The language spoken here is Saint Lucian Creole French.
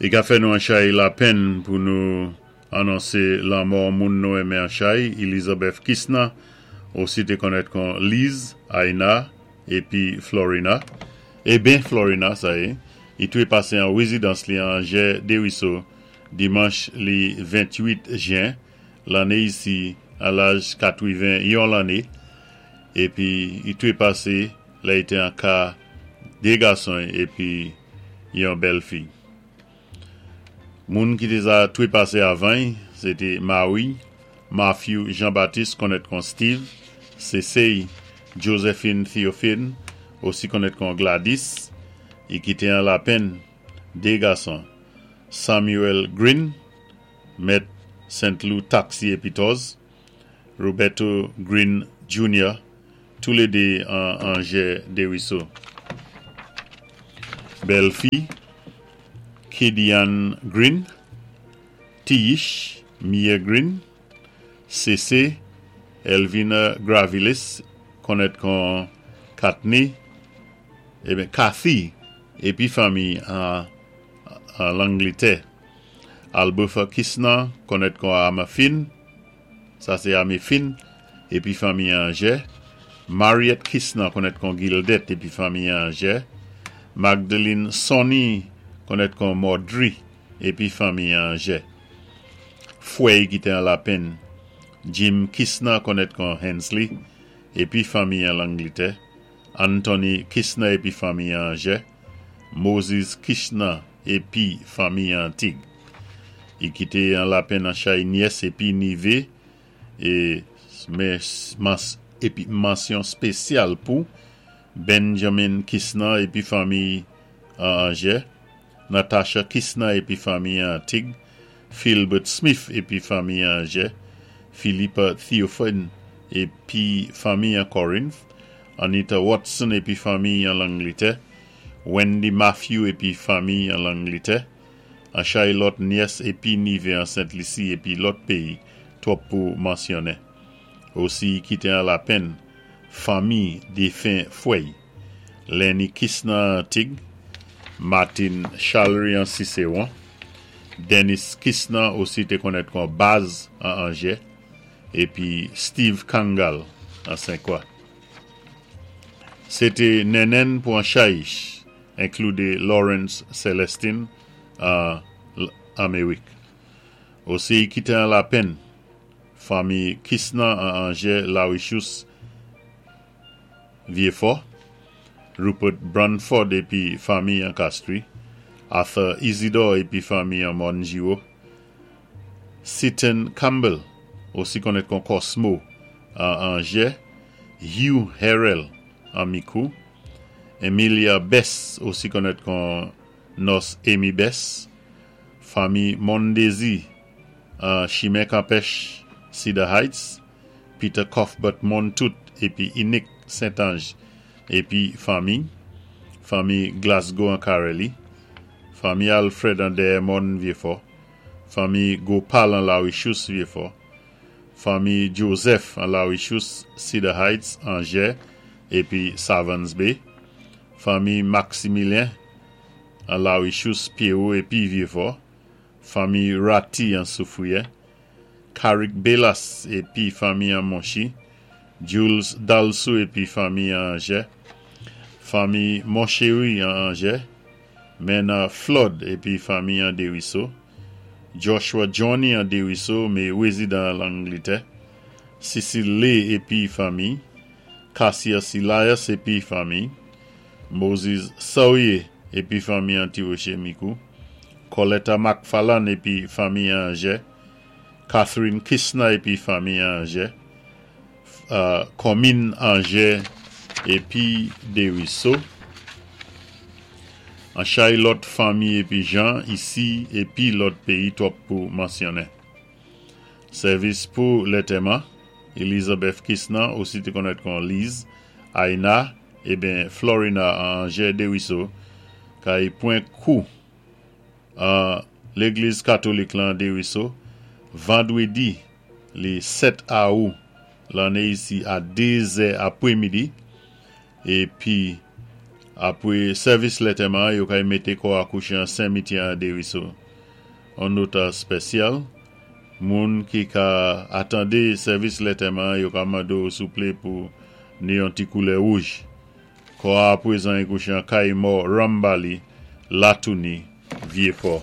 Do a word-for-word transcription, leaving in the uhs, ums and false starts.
I ka fè nou anchay lapenn pou nou anonsé lanmò moun nou enmen anchay, Elizabeth Kisna, osi té konnèt kon Liz, Aina, épi Florina. Eben Florina, sa yé, i twépasé an wézidans li an Anjè Déwiso, dimanch li ventuit jen, lanné isi, a laj katwiven-yon lanné, épi i twépasé, lè i té an ka dé gason épi yon bèl fi. Moun ki té za twépasé avan, sé té Marie, Matthew Jean-Baptiste konnèt kon Steve, Cécile Josephine Théophile, osi konnèt kon Gladys, i kité an lapenn dé gason. Samuel Green, mèt Saint Louis Taxi épi Tours, Roberto Green Junior, toulédé an Anjè Déwiso. Bèl fi, Kedian Green, Tiyish Mia Green, C C Elvina Gravilis, konnèt kon Katni, eben Kathy, épi fanmi an, an Langlitè. Albertha Kisna, konnèt kon Amafin, sa sé Amifin, épi fanmi an Anjè. Mariette Kisna, konnèt kon Gildet, épi fanmi an Anjè. Magdalene Sonny, konnèt kon Maudry, épi fanmi an Anjè. Fwè ki té an lapenn, Jim Kisna, konnèt kon Hensley, épi fanmi an Langlitè. Anthony Kisna, épi fanmi an Anjè. Moses Kisna, épi fanmi an Tig. I kité an lapenn anchay nyès épi nivé, é mans, épi mansyon spésyal pou Benjamin Kisna épi fanmi an Anjè, Natasha Kisna épi fanmi an Tig, Philbert Smith épi fanmi an Anjè, Philippa Theophane épi fanmi an Corinth, Anita Watson épi fanmi an Langlitè, Wendy Matthew épi fanmi an Langlitè, anchay lòt nyès épi nivé an Sent-Lisi épi lòt péyi, twòp pou mansyonnen. Osi kité an lapenn, fanmi défen fwè, Lenny Kisna Tig, Martin Chalery an Cicéron, Dennis Kisna osi té konnèt kon Baz an Anjè, épi Steve Kangal an Saint-Croix. Sé té nennenn pou anchay, inkloudé Lawrence Celestine an Amérik. Osi kité an lapenn, fanmi Kisna an Anjè Larichous Vieux-Fort, Rupert Brunford épi fanmi an Castries, Arthur Isidore épi fanmi an Monjiro, Seaton Campbell, osi konnèt kon Cosmo an Anjè, Hugh Harrell an Micoud, Emilia Bess, osi konnèt kon Nurse Amy Bess, fanmi Mondesi an Chimen Campêche Cedar Heights, Peter Cuthbert Montout épi Inik Saint-Ange épi fanmi, fanmi Glasgow an Carely, fanmi Alfred an Dermon Vieux-Fort, fanmi Gopal an Larichous Vieux-Fort, fanmi Joseph an Larichous Cedar Heights Anjè épi Savans Bay, fanmi Maximilien an Larichous Pierrot épi Vieux-Fort, fanmi Ratti an Soufrière, Karik Belas épi fanmi an Monchi, Jules Dalsou épi fanmi an Anjè, fanmi Monchéry an Anjè, Mena Flood épi fanmi an Deriso, Joshua Johnny an Deriso, mé wézidan Langlitè, Cecile Lay épi fanmi, Cassius Elias épi fanmi, Moses Sawyer épi fanmi an Tiroché Micoud, Coletta McFarlane épi fanmi an Anjè, Catherine Kisna épi fanmi an Anjè, euh, komin Anjè épi Deriso, anchay lòt fanmi épi jan isi épi lòt péyi twòp pou mansyonnen. Sèvis pou lantèman, Elizabeth Kisna, osi té konnèt kon Liz, Aina, eben Florina an Anjè Deriso, kay pwan kou an légliz katolik lan Deriso, vandwédi li sèt awou lanné isi a dé zè apwémidi, épi Apwé sèvis lantèman, yo kay mété kò a kouché an simityè an Dériso. An nota spésyal, moun ki ka atandé sèvis lantèman, yo ka mando souplé pou ni yon ti koulè wouj. Kò a apwézan i kouché an kay mò Rambali, Latouni, Vyé-Pò.